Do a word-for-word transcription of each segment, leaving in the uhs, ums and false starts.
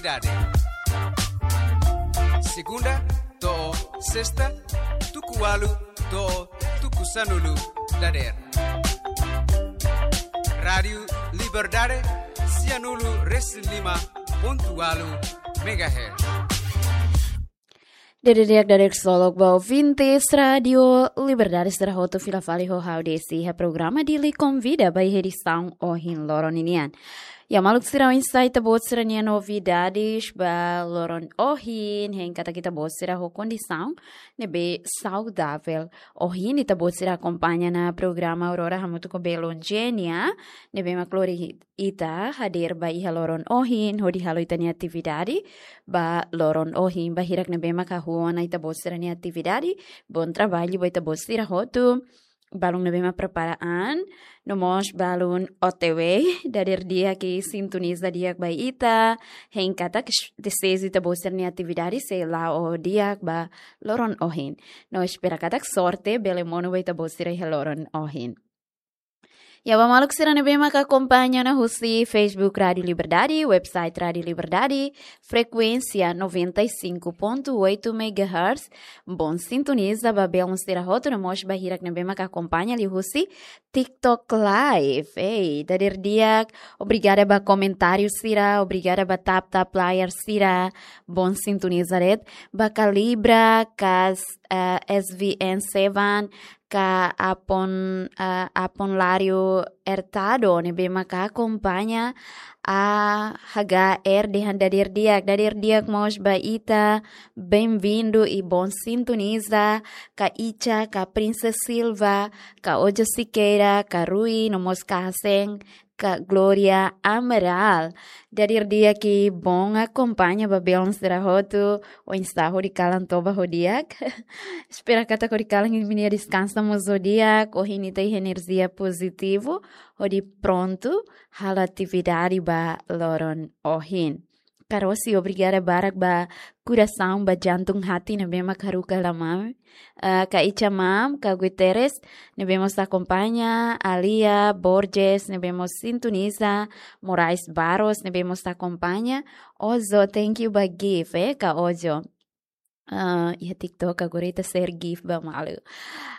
Dade. Segunda to'o sesta, tuku ualu to'o tuku sanulu dadeer. Rádiu Liberdade, sianulu resin lima pontu ualu megahertz. Dadeer di'ak, dadeer ksolok ba ouvintes Rádiu Liberdade sira hotu, fila fali ho ha'u Desi iha programa Dili Konvida ba iha edisaun ohin loron ninian. Ya, maluk sira, oinsá ita-boot sira-nia novidades ba loron ohin, hein katak ita-boot sira ho kondisaun ne'ebé saudavel. Ohin ita-boot sira akompaña ona programa Aurora hamutuk ho belun Genia, ne'ebé mak lori ita hadeer ba iha loron ohin hodi halo ita-nia atividade ba loron ohin. Ba hirak ne'ebé mak hahú ona ita-boot sira-nia atividade, bom trabalho ba ita-boot sira hotu. Balun ne'ebé mak prepara an, no mós balun O T W, dadeer di'ak i sintoniza di'ak ba ita, hein katak dezeju ita-boot sira-nia atividade sei la'o di'ak ba loron ohin. No espera katak sorte bele monu ba ita-boot sira iha loron ohin. Ya, ba maluk sira ne'ebé mak akompaña ona husi Facebook Rádiu Liberdade, website Rádiu Liberdade, frekuénsia noventa e cinco ponto oito megahertz, bom sintoniza ba belun sira hotu, no mós ba hirak ne'ebé mak akompaña liuhusi TikTok Live. Ei, dadeer di'ak, obrigada ba komentáriu sira, obrigada ba tap-tap layar sira, bom sintoniza de'it, ba Calibra, kas, eh, S V N seven, ka Apon, eh, Apon Lário Hurtado, ne'ebé mak akompaña A H R dehan dadeer di'ak, dadeer di'ak mós ba ita, bem-vindo i bom sintoniza, ka Icha, ka Princess Silva, ka Ojo Siqueira, ka Rui, no mós ka Hasen, ka Gloria Amaral. Dadeer di'ak i bom akompaña ba belun sira hotu, oinsá, hodi kalan toba ho di'ak. Espera katak hodi kalan imi-nia deskansa mós ho di'ak, ohin ita iha enerjia pozitivu, hodi prontu halo atividade ba loron ohin. Ka Rosi, obrigada barak ba korasaun, ba jantung hati ne'ebé mak haruka lamam. Eh, ka Icha Mam, ka Guterres, ne'ebé mós akompaña, Alia Borges, ne'ebé mós sintoniza, Moraes Barros, ne'ebé mós akompaña, Ojo, thank you ba gift, eh, ka Ojo. Ah, iha TikTok agora ita share gift ba malu.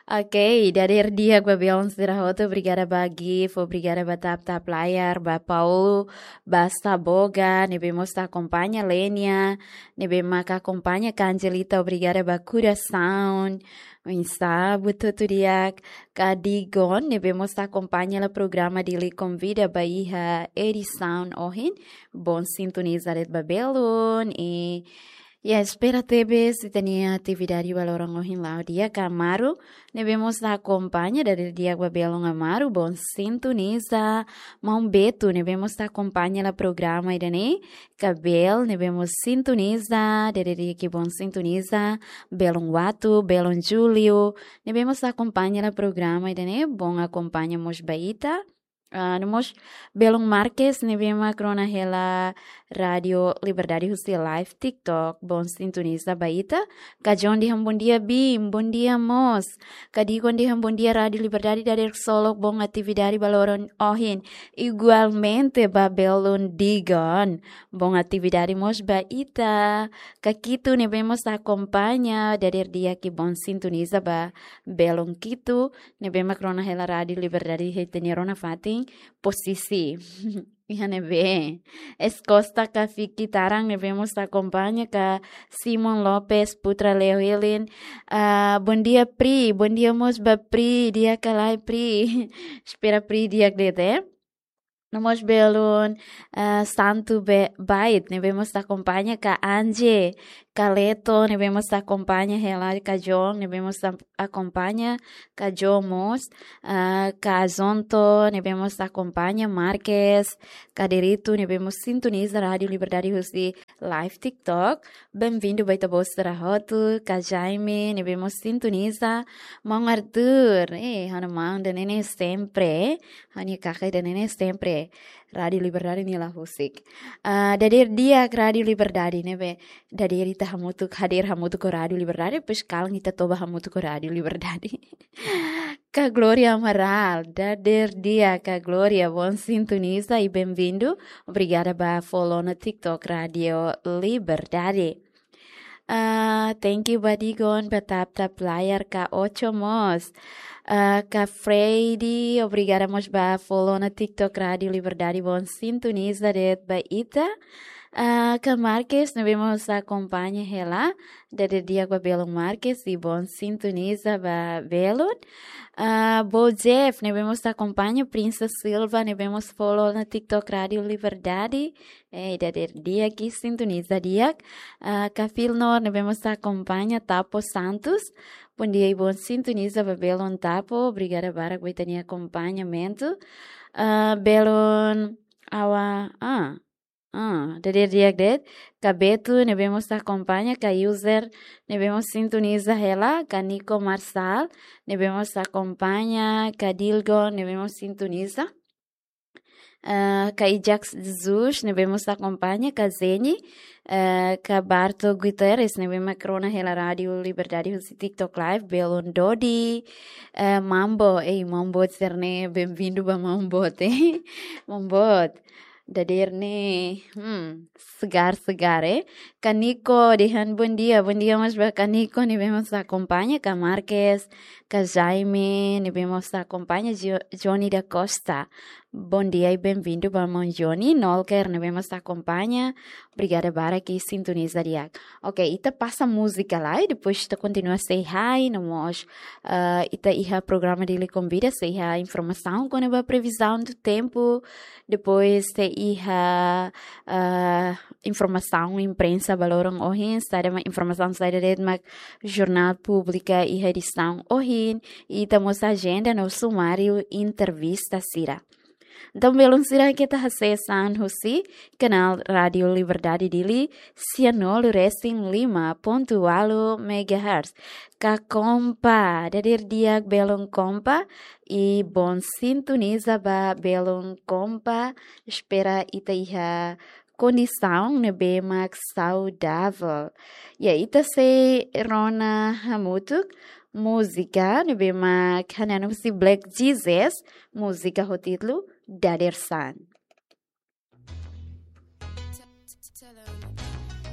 Ok, dadeer di'ak ba belun sira hotu, obrigada ba gift, obrigada ba tap-tap layar, ba Paulo, ba Saboga, ne'ebé mós akompaña, Lenia, ne'ebé mak akompaña, ka Angelita, obrigada ba korasaun, oinsá, buat hotu di'ak, ka Digon, ne'ebé mós akompaña hela programa Dili Konvida ba iha edisaun ohin, bom sintoniza de'it ba belun, i ya, espera tebes ita-nia atividade ba loron ohin la'o di'ak. Ka Amaru, ne'ebé mós akompaña, dadeer di'ak ba belun Amaru, bom sintoniza. Maun Beto, ne'ebé mós akompaña hela programa ida-ne'e, ka Bel, ne'ebé mós sintoniza, dadeer di'ak i bom sintoniza, belun Watu, belun Júlio, ne'ebé mós akompaña hela programa ida-ne'e, bom akompaña mós ba ita. Ah, no mós belun Marques, ne'ebé mak rona hela Rádiu Liberdade husi live TikTok, bom sintoniza ba ita. Ka John dehan bom dia, Bim, bom dia mós. Ka Digon dehan bom dia, Rádiu Liberdade, dadeer ksolok, bom atividade ba loron ohin. Igualmente ba belun Digon, bom atividade mós ba ita. Ka Kitu, ne'ebé mós akompaña, dadeer di'ak i bom sintoniza ba belun Kitu, ne'ebé mak rona hela Rádiu Liberdade iha ita-nia rona fatin, posisi. Iha ne'ebé. Es Costa, ka Fiki Tarang, ne'ebé mós akompaña, ka Simon Lopes, Putra Leo Helen. Ah, bom dia, Pri. Bom dia mós ba Pri, di'ak ka lae, Pri? Espera Pri di'ak de'it, eh? No mós belun, ah, Santu Be-, Bait, ne'ebé mós akompaña, ka Anje, ka Leto, ne'ebé mós akompaña hela, ka John, ne'ebé mós am-, akompaña, ka Jo mós, ah, ka Zonto, ne'ebé mós akompaña, Marques, ka Derito, ne'ebé mós sintoniza Rádiu Liberdade husi live TikTok. Bem-vindo ba ita-boot sira hotu, ka Jaime, ne'ebé mós sintoniza, maun Arthur, eh, ha'u-nia maun ida-ne'e ne'e sempre, eh, ha'u-nia kaka ida-ne'e ne'e sempre. Rádiu Liberdade nia la husik. Ah, dadeer di'ak Rádiu Liberdade ne'ebé dadeer ita hamutuk, hadeer hamutuk ho Rádiu Liberdade, depois kalan ita toba hamutuk ho Rádiu Liberdade. Ka Gloria Amaral, dadeer di'ak ka Gloria, bom sintoniza e bem-vindo. Obrigada ba follow ona TikTok Rádiu Liberdade. Ah, thank you ba Digon, ba tap tap layar ka Ocho mós. Ah, ka Freddy, obrigada mós ba follow ona TikTok Rádiu Liberdade, bom sintoniza de'it ba ita. Ah, ka Marques, ne'ebé mós akompaña hela, dadeer di'ak ba belun Marques, i bom sintoniza ba belun. Ah, Bo Jeff, ne'ebé mós akompaña, Princess Silva, ne'ebé mós follow ona TikTok Rádiu Liberdade. Eh, dadeer di'ak i sintoniza di'ak. Ah, ka Filnor, ne'ebé mós akompaña, Tapo Santos. Bom dia i bom sintoniza ba belun Tapo. Obrigada barak ba ita-nia akompañamentu. Ah, belun Awa, ah, ah, dadeer di'ak de'it. Ka Betu, ne'ebé mós akompaña, ka user, ne'ebé mós sintoniza hela, ka Nico Marçal, ne'ebé mós akompaña, ka Dilgon, ne'ebé mós sintoniza. Ah, ka Ijax Jesus, ne'ebé mós akompaña, ka Zeni, ah, ka Barto Guterres, ne'ebé mak rona hela Rádiu Liberdade husi TikTok Live, belun Dodi, ah, Mambo, ei, Mambo sira-ne'e, bem-vindo ba Mambo, te. Mambo, dadeer ne'e, hmm, segar-segar, eh. Ka Nico, dehan bom dia, bom dia mós ba ka Nico, ne'ebé mós akompaña, ka Marques, ka Jaime, ne'ebé mós akompaña, Jo-, Johnny da Costa. Bom dia i bem-vindo ba maun Johnny, Nolker, ne'ebé mós akompaña. Obrigada barak i sintoniza di'ak. Ok, ita pasa múzika lai, depois ita kontinua sei hi, no mós, ah, ita iha programa Dili Konvida, sei iha informasaun kona-ba previzaun do tempu, depois sei iha, ah, informasaun imprensa ba loron ohin, saida mak informasaun saida de'it mak jornál publika iha edisaun ohin, i ita mós ajenda no sumáriu entrevista sira. Entaun, belun sira, keta hasees an husi kanál Rádiu Liberdade Dili, sianulu resin lima pontu ualu megahertz. Ka Kompa, dadeer di'ak belun Kompa, i bom sintoniza ba belun Kompa, espera ita iha kondisaun ne'ebé mak saudavel. Ya, ita sei rona hamutuk múzika ne'ebé mak hanesan husi Black Jesus, múzika ho títulu Dadeer-san.